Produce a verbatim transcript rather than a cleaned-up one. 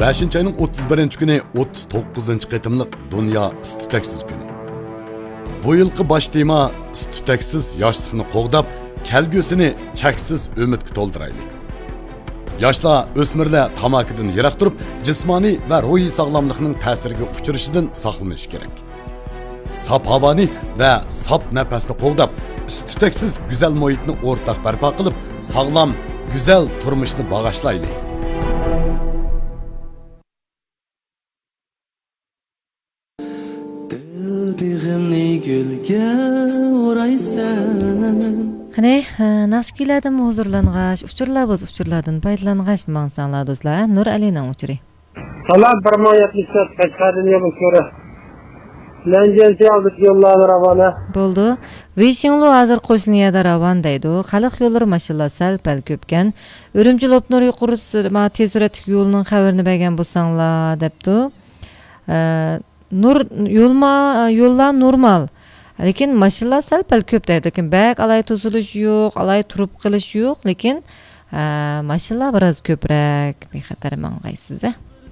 بەشىنچى ئاينىڭ ئوتتۇز بىرىنچى كۈنى ئوتتۇز توققۇزىنچى قېتىملىق دۇنيا ئىس-تۈتەكسىز كۈنى. بۇ يىلقى باش تېما ئىس-تۈتەكسىز ياشلىقنى قوغداپ، كەلگۈسىنى چەكسىز ئۈمىدكە تولدۇرايلى. ياشلار، ئۆسمۈرلەر تاماكىدىن يىراق تۇرۇپ، جىسمانىي ۋە روھىي ساغلاملىقنىڭ تەسىرىگە ئۇچرىشىدىن ساقلىنىشى كېرەك. ساپ ھاۋانى ۋە ساپ نەپەسنى قوغداپ، ئىس-تۈتەكسىز گۈزەل مۇھىتنى ئورتاق بەرپا قىلىپ، ساغلام، گۈزەل تۇرمۇشنى باغاشلايلى. دىل بېغىمنى گۈلگە ئورايسەن. قېنى، ناخشا كۈيلەردىنمۇ ھۇزۇرلانغاچ، ئۇچۇرلار بولسا ئۇچۇرلاردىن پايدىلانغاچ ماڭساڭلار دوستلار، ھە؟ نۇر ئەلىنىڭ ئۇچۇرى. سالام، بىر مىڭ يەتمىش تۆت، قەشقەردىن يولدىشىڭ. لەنجيەنسى ئالدىدىكى يوللارنى راۋانە. بولدى. ۋېيشىڭلۇ ھازىر قوشنا يەردە راۋان دەيدۇ. خەلق يوللىرى ماشىنىلار سەل-پەل كۆپكەن. ئۈرۈمچى لوپنۇر يۇقىرى سۈر-، ما، تېز سۈرئەتلىك يولىنىڭ خەۋىرىنى بەرگەن بولساڭلار، دەپتۇ. ئە، نۇر، يولما-، يوللار نورمال. لېكىن ماشىنىلار سەل-پەل كۆپ دەيدۇ. لېكىن بەك ئالاھىدە توسۇلۇش يوق، ئالاھىدە تۇرۇپ قېلىش يوق. لېكىن، ئە، ماشىنىلار بىراز كۆپرەك. بىخەتەر ماڭغايسىز، ھە.